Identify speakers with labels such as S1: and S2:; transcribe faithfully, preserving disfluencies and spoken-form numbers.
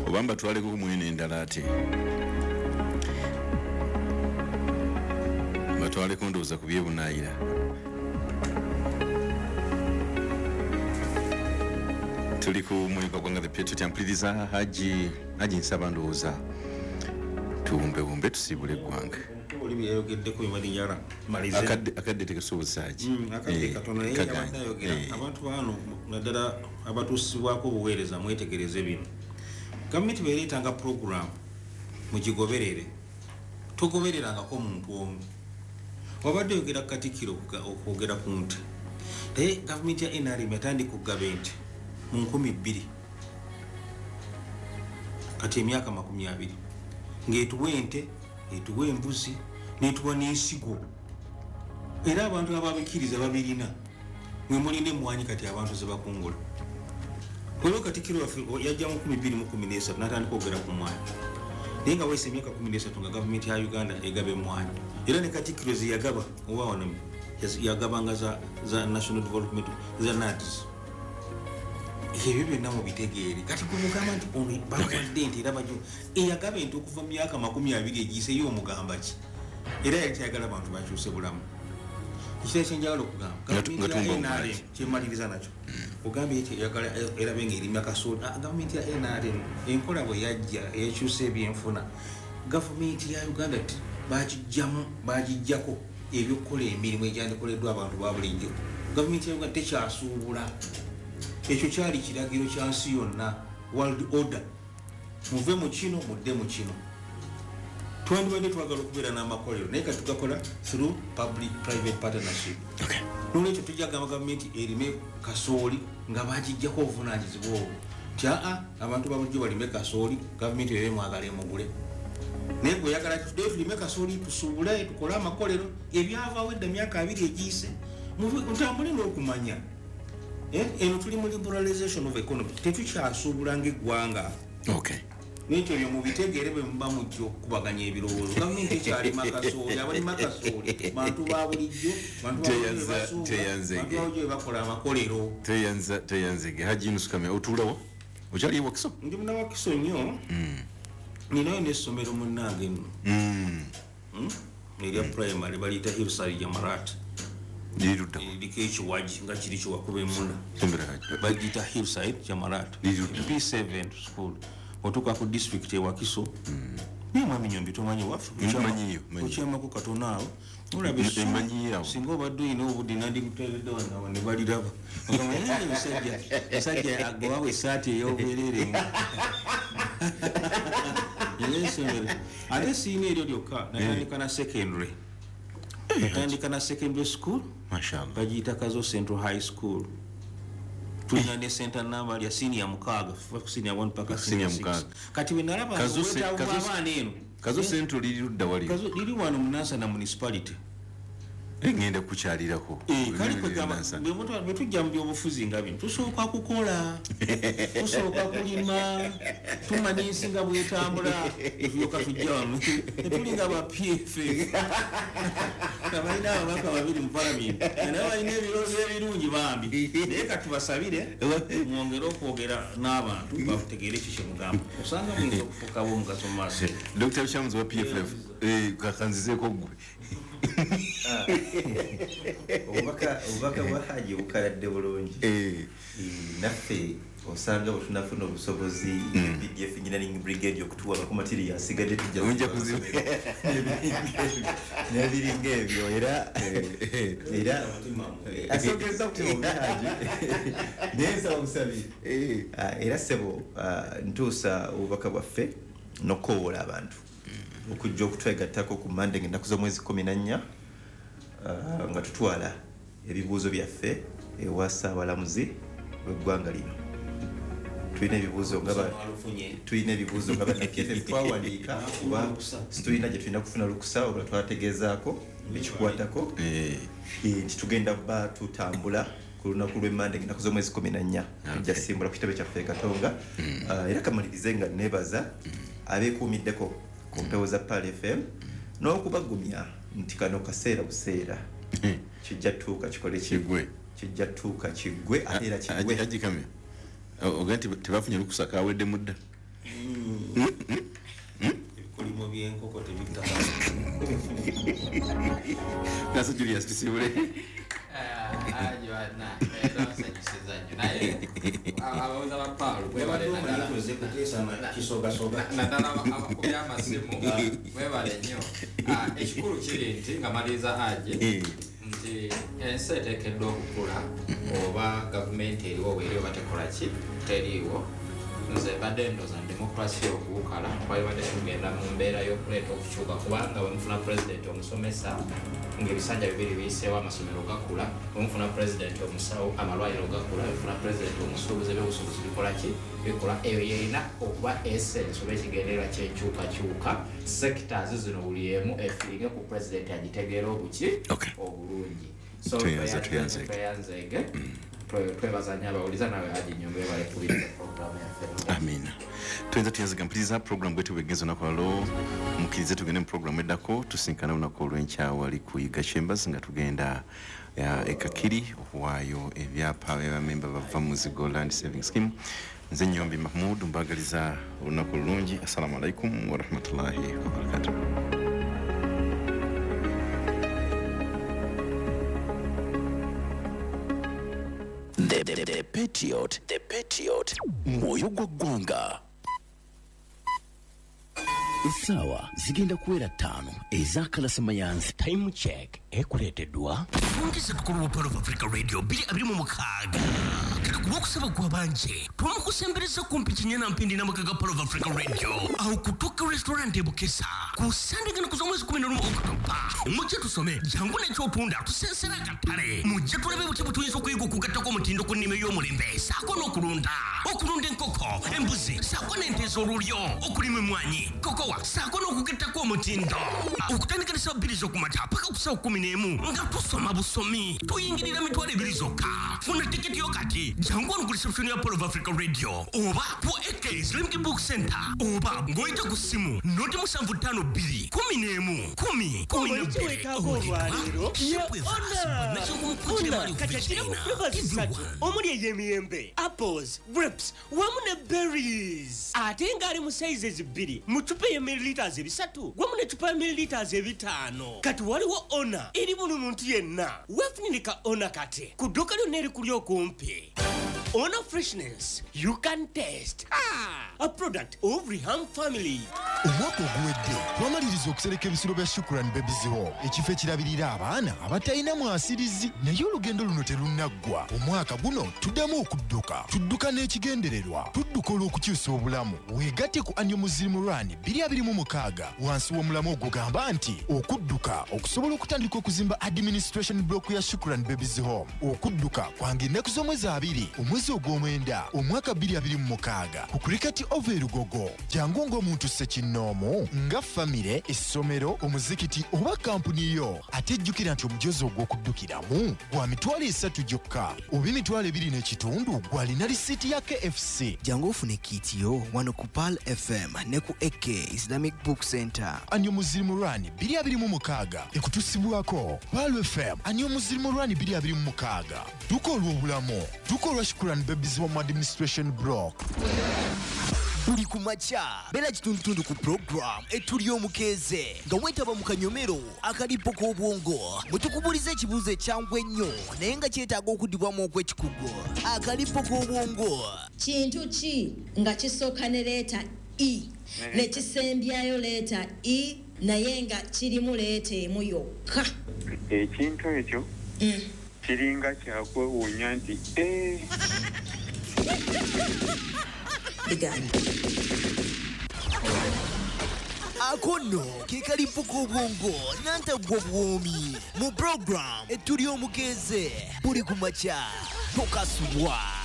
S1: Oba mbatwaleko ku mwene endala ate mbatwaleko ndowooza ku byebunaayira. Tuli ku mulimu gwanga the Patriot ampuliriza Haji Haji nsaba ndowooza tuwumbewumbe tusiibule eggwanga.
S2: Oli byeyogeddeko bimalinyala malize
S1: akadde akadde tekesoboza Haji
S2: mm, akadde katono naye yabadde ayogera abantu bano naddala abatuusibwako obuweereza mwetegereze bino. Gavumenti bwereetanga program mugigoberere, togobererangako omuntu omu. Wabadde oyogera Katikkiro okwogera ku nte, naye gavumenti ya N R M yatandika okugaba ente mu nkumi bbiri kati emyaka makumi abiri ng'etuwa ente, etuwa embuzi, n'etuwa n'ensigo. Era abantu ababikkiriza babirina, mwe mulina emmwanyi kati abantu ze bakungula. Olwo Katikkiro waffe yajja mu nkumi bbiri mu kkumi n'esatu n'atandika okwogera ku mmwanyi, naye nga weese emyaka kkumi n'esatu nga gavumenti ya Uganda egaba emmwanyi. Era ne Katikkiro ze yagaba oba wano yagabanga za, za National Development za N A D S. Ebyo byonna mubitegeere. Kati gwe mugamba nti ono bawadde ente era bajo eyagaba ente okuva mu myaka makumi abiri egiyiseeyo omugamba ki? Era yali tayagala bantu bakyuse bulamu. Ekirala kye njagala okugamba, gavumenti ya N R M kyemaliriza nakyo, ogambye nti eyagala erabe ng'erima kasooli. Gavumenti ya N R M enkola bwe yajja eyakyusa ebyenfuna, gavumenti ya Uganda bagijjamu bagijjako ebyokukola emirimu egyandikoleddwa abantu ba bulijjo. Gavumenti ya Uganda tekyasuubula. Ekyo kyali kiragiro kya nsi yonna, world order. Muve mu kino mudde mu kino. Twandibadde twagala okubeera n'amakolero naye kati tugakola through public private partnership.
S1: Okay.
S2: Nolwekyo tujja kugamba gavumenti erime kasooli nga bagijjako obuvunaanyizibwa obwo nti aa abantu ba bulijjo balime kasooli, gavumenti ebe mwagala emugule. Naye gwe oyagala tuddeyo tulime kasooli tusuubule tukole amakolero, ebyavaawo edda myaka abiri egiyise mutambule n'okumanya. Eno tuli mu liberalization of economy, tetukyasuubula ng'eggwanga.
S1: Okay.
S2: N'ekyo byo mubitegeere bwe muba mujja okukubaganya ebirowoozo. Gavumenti ekyalima kasooli, abalima kasooli bantu ba bulijjo, bantu ba bulijjo basuubula, bantu ba bulijjo be bakola amakolero.
S1: Teyanza teyanzege Haji Yunus Kamya otuulawo okyali Wakiso?
S2: Ndi munnawakiso nnyo. Ninayo n'essomero munnange nno erya primary baliyita Hillside Jamarat. Liriko ekiwagi nga kiri kiwakuba emmunda, bagiyita Hillside Jamarat P seven school. Otuuka ku district e Wakiso, naye mwami Nyombi tomanyi waffe, okyamako katono awo olaba singa obadde olina obudde nandikuteeredde wano ne baliraba. Musajja agobawo essaati ey'obwereere. Essomero ate siina eryo lyokka, natandika na secondary. Natandika na secondary school bagiyita Kazo Central High School. Tulina ne center number lya senior mukaaga, senior one paka senior six. Kati bwe nalaba obwetaavu bw'abaana eno,
S1: Kazo Central liri ludda wali?
S2: Kazo liri wano mu Nansana municipality.
S1: Ngenda kukyalirako.
S2: Kale kwegamba bwe tujja mu byobufuzi nga bino tusooka kukola, tusooka kulima, tumanya ensi nga bwetambula, tulyoka tujja wano. Tetulinga ba P F F abalina ababaka babiri mu palamenti naye balina ebirowoozo ebirungi bambi, naye katubasabire mwongere okwogera n'abantu bakutegeere ekyo kye mugamba, osanga muyinza okufuuka ab'omugaso mu maaso.
S1: Dokita Lukyamuzi wa P F F kakanzizeeko ggwe.
S3: Obubaka bwa Haji bukaladde bulungi. Naffe osanga bwe tunafuna obusobozi P D F Engineering Brigade okutuwa ku material asigadde tujja kuziba n'ebiringa ebyo. Era era asogeza kutima Haji naye nsaba busabi. Era ssebo ntuusa obubaka bwaffe n'okukoowoola abantu okujja okutwegattako ku Monday ng'ennaku z'omwezi kkumi na nnya nga tutwala ebibuuzo byaffe ewa Ssaabalamuzi w'eggwanga lino. Tulina ebibuuzo nga tulina ebibuuzo nga banna P F F twawandiika kuba situlina gye tulina kufuna lukusa oba twategeezaako ekikwatako nti tugenda bba tutambula ku lunaku lw'Emmande ng'ennaku z'omwezi kkumi na nnya tujja simbula ku kitebe kyaffe e Katonga. Era kamalirize nga neebaza abeekuumiddeko ku mpewo za Pearl F M n'okubagumya nti kano kaseera buseera kijja tuuka kikole
S1: Kiggwe.
S3: Kijja tuuka kiggwe ate era kiggwe.
S1: Haji Kamya oga nti tebafunye lukusa kawedde mudda.
S2: Ebikolimo by'enkoko tebitta.
S1: Nasa Julius tusibule.
S4: Naye abawoza ba Paulo mwebale naddala abakubya amasimu mwebale nnyo. Ekikulu kiri nti nga maliriza Haji nti ensi eteekeddwa okukula oba gavumenti eriwo weeri oba tekola ki teriiwo. Nze mbadde ndowooza demokrasi okuwukala twalibadde tugenda mu mbeera y'okuleeta okukyuka kubanga bwe mufuna pulezidenti omusomesa ng'ebisanja bibiri biyiseewo amasomero gakula, bwe mufuna pulezidenti omusawo amalwaliro gakula, bwe mufuna pulezidenti omusuubuzi ebyobusuubuzi bikola ki bikola. Eyo yerina okuba essence oba ekigendererwa ky'enkyukakyuka. Sectors zino buli emu efiiringe ku pulezidenti agitegeera obuki obulungi. So tweyanzeege twebaza nnyo abawuliza nawe Haji Nyombo webale kubiriza programu yaffe.
S1: Amina. Tuyinza tuyanzega mpuliriza program bwetu bwegenza olunaku lwaleero mukkirize tugende mu programu eddako tusinkane olunaku olw'enkya wali ku Yiga Chambers nga tugenda e Kakiri okuwaayo ebyapa by'abamemba bava mu Muzigo Land Saving Scheme. Nze Nyombi Mahmoud mbagaliza olunaku olulungi. Assalamu alaikum warahmatullahi wabarakatuh.
S5: The, the, the Patriot, the Patriot, mwoyo gwa ggwanga. Essaawa zigenda kuwera ttaano ez'akalasamayanzi.
S6: Time check ekuleeteddwa
S7: Fungisa tukulu wa Pearl of Africa Radio bbiri abiri mu mukaaga. Katukuba okusaba kwa banje twamukusembereza kumpi kinyana mpindi n'amaka ga Pearl of Africa Radio awo kutuuka restaurant e Bukesa ku Sande gano kuza omwezi kumi n'olumu Okutoba. Mujje tusome jangu n'ekyotunda tusensera akatale mujje tulabe butya bwe tuyinza okuyiga okugattako omutindo ku nnima ey'omulembe ssaako n'okulunda okulunda enkoko embuzi ssaako n'ente ez'olulyo okulima emmwanyi kokowa ssaako n'okugattako omutindo okutandika ne ssaawa bbiri z'okumakya paka ku ssaawa kkumi n'emu nga tusoma busomi tuyingirira mitwalo ebiri zokka. Funa tiketi yo kati jangu wano ku reception ya Pearl of Africa Radio oba ku A K Islamic Book Center oba ng'oyita ku ssimu noti musanvu ttaano bbiri kumi n'emu kumi kumi na bbiri.
S8: Ona kati akiramu flavors ssatu omuli ey'emiyembe, apples, grapes wamu ne berries ate ng'ali mu sizes bbiri mu cupa ya milliliters ebisatu wamu ne cupa ya milliliters ebitaano. Kati waliwo Ona eri buli muntu yenna. Weefunire ka Ona kati ku dduuka lyonna erikuli okumpi. Ona freshness you can taste. Ah, a product of Reham family.
S9: Omwaka oguwedde twamaliriza okusereka ebisulo bya Shukran Babies Home, ekifo ekirabirira abaana abatalina mwasirizi, naye olugendo luno terunnaggwa. Omwaka guno tuddamu okudduka, tudduka n'ekigendererwa, tudduka olw'okukyusa obulamu. Weegatte ku Annual Muslim Run bbiri abiri mu mukaaga wansi w'omulamu ogugamba nti okudduka okusobola okutandika okuzimba administration block ya Shukran Babies Home. Okudduka kwange ennaku z'omwezi abiri omwezi ogw'omwenda omwaka bbiri abiri mu mukaaga ku Cricket Oval e Lugogo. Jangu ng'omuntu ssekinnoomu nga famire, essomero, omuzikiti oba kampuni yo. Ate jjukira nti omujozi ogw'okuddukiramu gwa mitwalo esatu gyokka oba emitwalo ebiri n'ekitundu gw'alina risiiti ya K F C.
S10: Jangu ofune kiiti yo wano ku Pearl F M ne ku A K Islamic Book Center.
S9: Annual Muslim Run bbiri abiri mu mukaaga ekutusibwako Pearl F M. Annual Muslim Run bbiri abiri mu mukaaga dduka olw'obulamu, dduka olwa Shukran Babies Home Administration Block.
S10: Buli ku makya beera kitundutundu ku program etuli omukeeze nga weetaba mu kanyomero akalipo k'obwongo mwe tukubuuliza ekibuuzo ekyangu ennyo naye nga kyetaaga okuddibwamu okw'ekikugu. Akalipo k'obwongo
S11: kintu ki nga kisooka ne leeta e ne kisembyayo leeta e naye nga kirimu leeta emu yokka?
S12: Ekintu ekyo kiringa kyakwewuunya nti ee
S11: Began.
S10: Ako nno ke kalipo k'obwongo nantagwa buwoomi mu program etuli omukeeze buli ku makya tokasubwa.